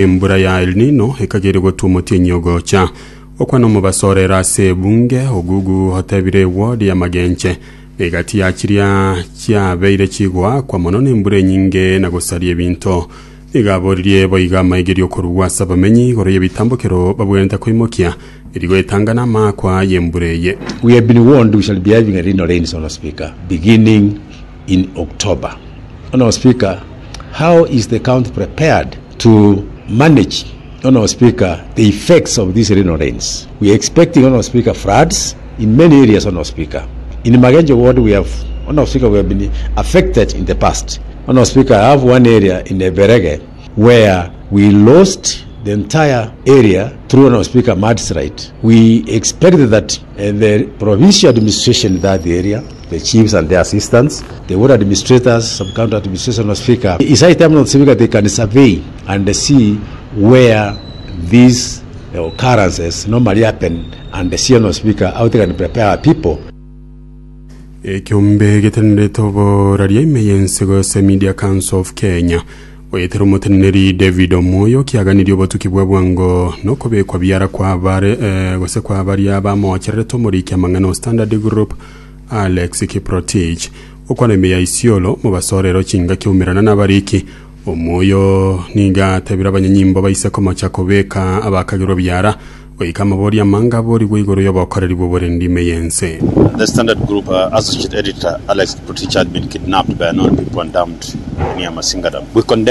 Embura ya El Nino ekageire gotwa omotienyi ogocha. Okwana omobaso orere ase ebunge, Ogugu otebire eward ya Magenche negati ya chiria chiabeire chigoakwa mono nembura enyinge na gosaria ebinto. Nigo aboririe boigo amaigerio korugwa ase abamenyi igoro y'ebitambokero babwenerete koimokia erio goetanga namaakwa y'embura eye. We have been warned we shall be having a Rhino rains, Honourable Speaker, beginning in October. Honourable Speaker, how is the county prepared to manage, Honourable Speaker, the effects of these Rhino rains? We are expecting, Honourable Speaker, floods in many areas, Honourable Speaker. In Magenche ward, we have, Honourable Speaker, we have been affected in the past. Honourable Speaker, I have one area in Eberege where we lost the entire area through Honourable Speaker mudslide. We expected that uh, the provincial administration in that area, the chiefs and their assistants, the ward administrators, some county administration, Honourable Speaker, it's high time, Honourable Speaker, they can survey and see where these occurrences normally happen and see, Honourable Speaker, how they can prepare our people. Ekeombe getenenerete oboraria ime y'ense gose Media Council of Kenya goetera omoteneneri David Omoyo kiaganirie obotuki bwa bwango nokobekwa biara kwa bare eh, gose kwa baria bamochererete omoriki amang'ana o Standard Group Alex Kiprotich okwana ime ya Isiolo mobasorero chingaki oumerana nabariki Omoyo nigo atebire abanyanyimbo baise komocha kobeka abakagerwa biara Goika amaborio amange aborigwe igoro y'obokoreri bw'oborendi ime y'ense. The Standard Group Associate Editor Alex Kiprotich had been kidnapped by unknown people and dumped near Masinga Dam. We condemn.